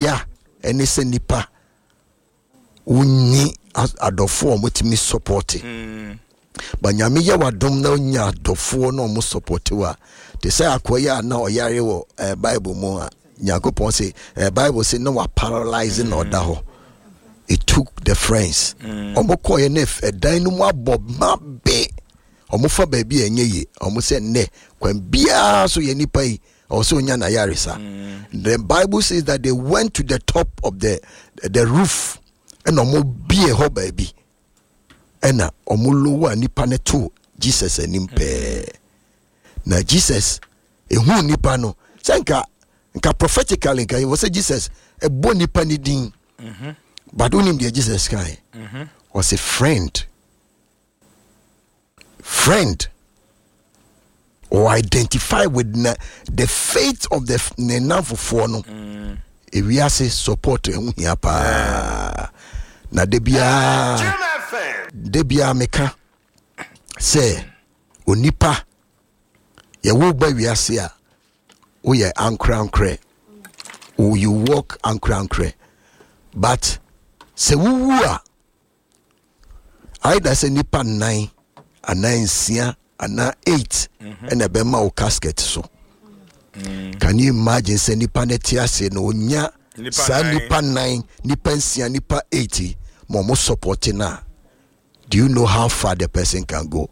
Ya ɛne sɛ nipa wonni adɔfoɔ a wɔtumi support. Ba Nyame yɛ wadom na wonya adɔfoɔ na wɔn support wo a, te sɛ akoa yi a na ɔyare wɔ Bible mu a Nyankopɔn se Bible se na wa paralyze na ɔda hɔ. It took the friends. Wɔn kɔɛ na ɛdan no mu abɔ ma be. Wɔn fa baabi a ɛnyɛ yie. Wɔn sɛ nnɛ kwan biara so yɛ nipa yi ɔwɔ sɛ onya n'ayaresa. The Bible says that they went to the top of the roof ɛna wɔn bie hɔ baabi ɛna wɔn lower nipa no to Jesus anim pɛɛ. Na Jesus ehu nipa no sɛ nka prophetically nka wɔ sɛ Jesus ɛbɔ nipa ne din. But wonim deɛ Jesus kan? Ɔsɛ, "Friend, friend," or identify with na, the faith of the ne namfofoɔ no. Ewiase support ɛho hia paa na de biara meka sɛ onipa yɛwo ba wiase a, woyɛ ankorankorɛ, you walk ankorankorɛ, but sɛ wowu a, either sɛ nipa nnan anaa nsia anaa eight ɛna ɛbɛma wo casket so. Can you imagine sɛ nipa no te ase na onya Nipa saa nnan. Nipa nnan, nipa nsia, nipa eight yi, ma ɔmo support no a, do you know how far the person can go?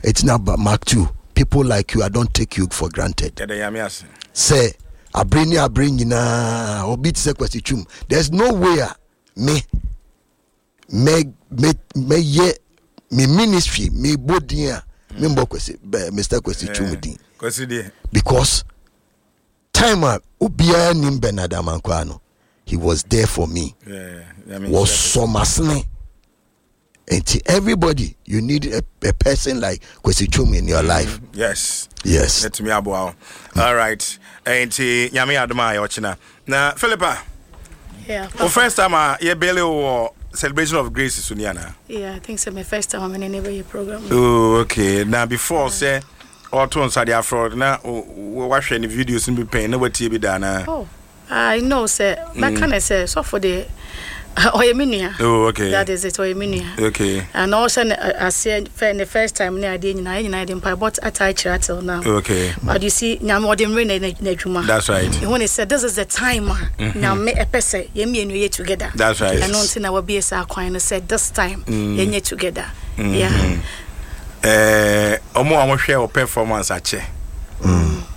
It's not mark two people like you. I don't take you for granted. Yɛda Nyame ase. Sɛ abere ne abere nyinaa obi te sɛ Kwasi Twum, there's no way a me mɛyɛ me ministry me bɔ din a me mbɔ Kwasi bɛ Mr Kwasi Twum din. Kwasi deɛ. Because time a obiara nim Bernard Amankwa no, he was there for me. Nyame nhyira. Wɔsɔ masene nti everybody, you need a person like Kwasi Twum in your life. Yes. Ɛtumi aboa wo. All right, nti Nyame adom a yɛɔkyena na Philippa, wo first time a yɛbɛle wo wɔ Celebration of Grace so ni anaa? Yeah, I think so. My first time I'm in any program. Oh, okay. Na before sɛ ɔto nsa de afrɛ na wahwɛ ne videos no bi pɛn na watie bi da anaa? Oh, I know, sir. That kind of say so for the ɔyɛ me nua. That is it. Ɔyɛ me nua. And also, I say for the first time ne adeɛ nyinaa, yɛn nyinaa yɛde mpaebɔ ata akyerɛ till now. But you see, Nyame ɔde mmerɛ na n'adwuma. That's right. Ɛhu ne sɛ this is the time a Nyame ɛpɛ sɛ yɛn mmienu yɛ together. That's right. Ɛno nti na wabie saa kwan no sɛ this time yɛnyɛ together. Yeah. Ɔmo a wɔhwɛ wɔ performance akyɛ.